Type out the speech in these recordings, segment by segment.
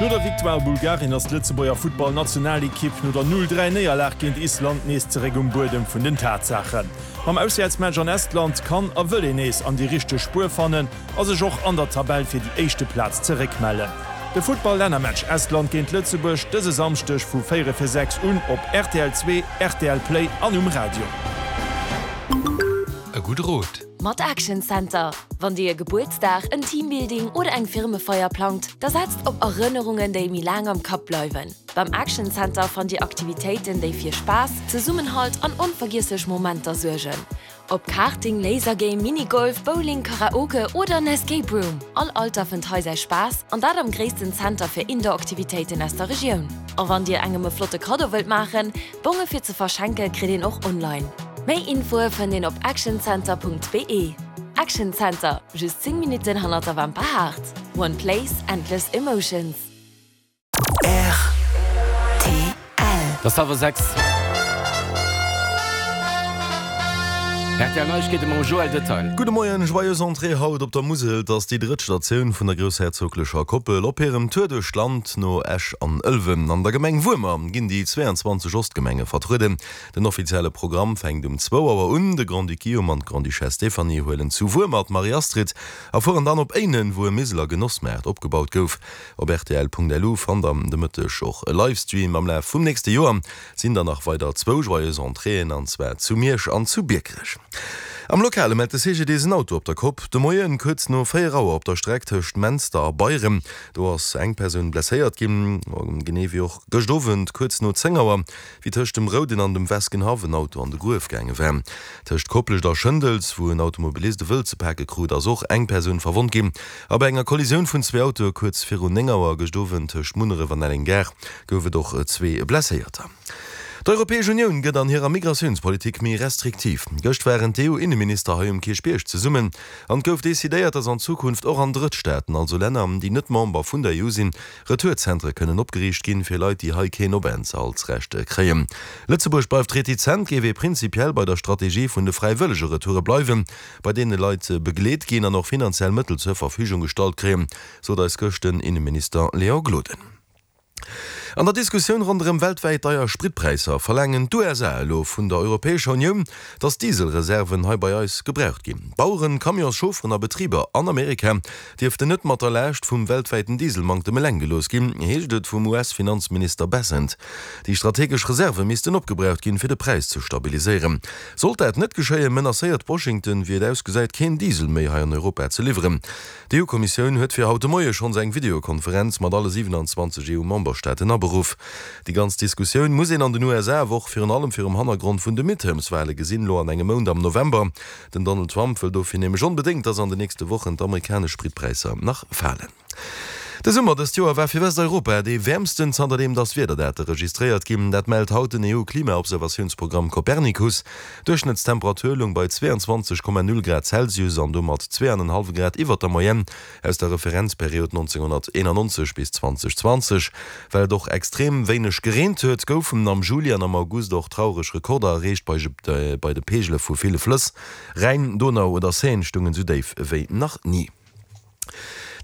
No der Victoire Bulgarien ass d'Lëtzebuerger Futtball-Nationalekipp no der 0, 3 Néierlag géint Island nees zeréck um Buedem vun den Tatsaachen. Mam Auswäertsmatch an Estland kann a wëll een nees an déi richteg Spuer fannen a sech och an der Tabell fir déi éischte Plaz zeréckmellen. De Futtball-Lännermatch Estland géint Lëtzebuerg dëse Samschdeg vu 4 fir 6 un op rtl 2, rtl Play an um Radio. E gudde Rot. Mat Action Center. Wann Dir e Gebuertsdag, en Teambuilding oder eng Firmefeier plangt, da setzt op Erënnerungen, déi méi laang am Kapp bleiwen. Beim Action Center fannt Dir Aktivitéiten, déi fir Spaass, Zesummenhalt an onvergiesslech Momenter suergen. Ob Karting, Lasergame, Minigolf, Bowling, Karaoke oder en Escape Room, all Alter fënnt hei säi Spaass, an dat am gréissten Zenter fir Indoor-Aktivitéiten aus der Regioun. A wann Dir engem e flotte Kaddo wëllt maachen, Bonge fir ze verschenke kritt een och online. Méi Infoe fënnt een op actioncenter.be. Action Center, just 10 Minutten hannert der Wamper Haard. One place, endless emotions. Rtl. Et ass hallwer 6. Rtl Neiegkeete mam Joël Detail. Gudde Moien, Joyeuse Entrée haut op der Musel. Et ass déi drëtt Statioun vun der groussherzoglecher Koppel op hirem Tour duerch d'Land no Esch an Ëlwen. An der Gemeng Wuermer ginn déi 22 Ostgemenge vertrueden. Den offizielle Programm fänkt um zwou Auer un. De Grand-Duc Guillaume an d'Grande-Duchesse Stéphanie huelen zu Wuermer d'Marie-Astrid a fueren dann op Éinen, wou e Miseler Genossmaart opgebaut gouf. Op rtl.lu fannt der de Mëtteg och e Livestream. Am Laf vum nächste Joer sinn der nach weider zwou Joyeuse Entréeën, an zwar zu Miersch an zu Biekerech. Am Lokale mellt de CGDIS en Auto op der Kopp de Moien kuerz no 4 Auer op der Streck tëscht Menster a Beyren. Do ass eng Persoun blesséiert ginn, genee wéi och gëscht Owend kuerz no 10 Auer, wéi tëscht dem Rouden an dem Weskenhaff en Auto an de Gruef gaange war. Tëscht Koplescht a Schëndels, wou en Automobilist e Wëld ze pake krut, ass och eng Persoun verwonnt ginn. A bei enger Kollisioun vun zwee Autoe kuerz virun 9 Auer gëscht Owend tëscht Munneref an Elleng-Gare gouf et och zwee Blesséierter. D'Europäesch Unioun gëtt an hirer Migratiounspolitik méi restriktiv. Gëscht waren d'EU-Inneminister hei um Kierchbierg zesummen an et gouf decidéiert, datt an Zukunft och an Drëttstaaten, also Länner, déi net Member vun der EU sinn, Retourzentere kënnen opgeriicht ginn, fir Leit, déi hei keen Openthaltsrecht kréien. Lëtzebuerg bleift retizent, géif ee prinzipiell bei der Strategie vun de fräiwëllege Retoure bleiwen, bei deene Leit begleet ginn an och finanziell Mëttel zur Verfügung gestallt kréien, sot eis gëscht den Inneminister Léon Gloden. An der Diskussioun ronderëm weltwäit deier Spritpräisser verlaangen d'USA elo vun der Europäescher Unioun, datt Dieselreserven hei bei eis gebraucht ginn. Baueren, Camionschaufferen a Betriber an Amerika dierften net mat der Laascht vum weltwäiten Dieselmanktem eleng gelooss ginn, heescht et vum US-Finanzminister Bessent. Déi strategesch Reserve missten opgebraucht ginn, fir de Präis ze stabiliséieren. Sollt dat net geschéien, menacéiert Washington, wéi et ausgesäit, keen Diesel méi hei an Europa ze liwweren. D'EU-Kommissioun huet fir haut de Moie schonns eng Videokonferenz mat alle 27 EU-Memberstaaten aberuff. Déi ganz Diskussioun muss een an den USA awer och virun allem virum Hannergrond vun de Midterms-Wale gesinn, elo an engem Mount am November. Den Donald Trump wëll dofir nämlech onbedéngt, datt an den nächste Wochen d'amerikanesch Spritpräisser nach falen. De Summer dëst Joer war fir Westeuropa dee wäermsten zanterdeem datt Wiederdate registréiert ginn. Dat mellt haut den EU-Klimaobservatiounsprogramm Copernicus. D'Duerchschnëttstemperatur loung bei 22,0 Grad Celsius an domat 2,5 Grad iwwert der Moyenne aus der Referenzperiod 1991 bis 2020. Well et och extrem wéineg gereent huet, goufen am Juli an am August och traureg Rekorder erreecht bei de Peegele vu ville Flëss. Rhäin, Donau oder Seine stungen esou déif wéi nach ni.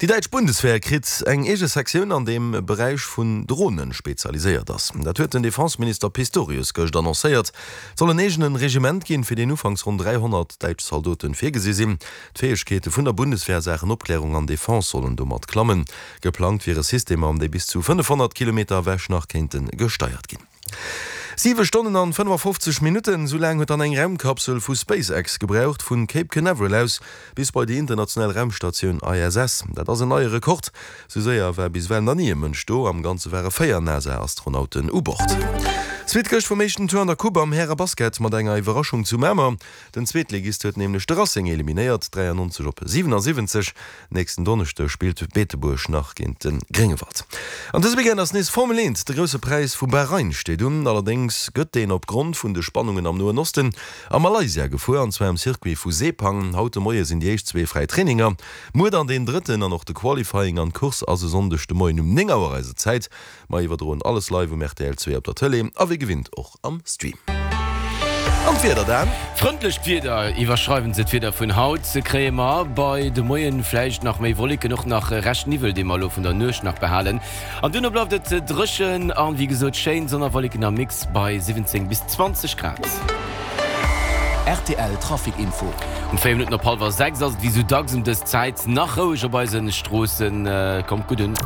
Déi däitsch Bundeswehr kritt eng eege Sektioun an deem Beräich vun Drone spezialiséiert ass. Dat huet den Defenseminister Pistorius gëscht annoncéiert. Et soll en eegene Regiment ginn, fir deen ufanks ronn 300 däitsch Zaldoten virgesi sinn. D'Fäegkeete vun der Bundeswehr a Saachen Opklärung an Defense sollen domat klammen. Geplangt wiere Systemer, déi bis zu 500 Kilometer ewech nach kéinte gesteiert ginn. 7 Stonnen an 55 Minutten, esou laang huet dann eng Raumkapsel vu SpaceX gebraucht, vun Cape Canaveral aus bis bei déi international Raumstatioun ISS. Dat ass en neie Rekord, esou séier war bis ewell nach ni e Mënsch do. Am Ganze ware 4 NASA-Astronauten u Bord. Suite gëscht vum éischten Tour an der Coupe am Häre-Basket mat enger Iwwerraschung zu Mamer. Den Zweetligist huet nämlech de Racing eliminéiert, 93 op 77. Nächsten Donneschde spillt Beetebuerg nach géint de Gréngewald. An dëse Weekend ass nees Formel 1, de Grousse Präis vu Bahrain steet un. Allerdéngs gëtt deen op Grond vun de Spannungen am Noen Osten a Malaysia gefuer, an zwar um Circuit vu Sepang. Haut de Moie sinn déi éischt zwee fräi Traininger, muer dann deen drëtten an och de Qualifying an d'Course ass e Sonndeg de Moien um 9 Auer eiser Zäit. Mer iwwerdroen alles live um rtl 2 op der Tëlee a wéi gewinnt och am Stream. An d'Wieder dann? Frëndlecht Wieder, iwwerschreiwen se d'Wieder vun haut, kréie mer bei de Moien vläicht nach méi Wolleken, och nach Rescht Niwwel, dee mer elo vun der Nuecht nach behalen. An duerno bleift et dréchen an, wéi gesot, schéin Sonn a Wolleken am Mix bei 17 bis 20 Grad. Rtl Trafic Info. Um 4 Minutten op hallwer 6 ass et wéi sou dacks ëm dës Zäit nach roueg op eise Stroossen. Kommt gutt un.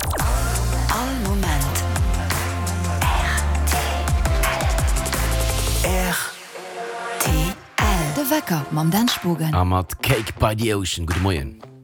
All Moment rtl. De Wecker mam Dan Spogen. A mat Cake by the Ocean. Gudde Moien.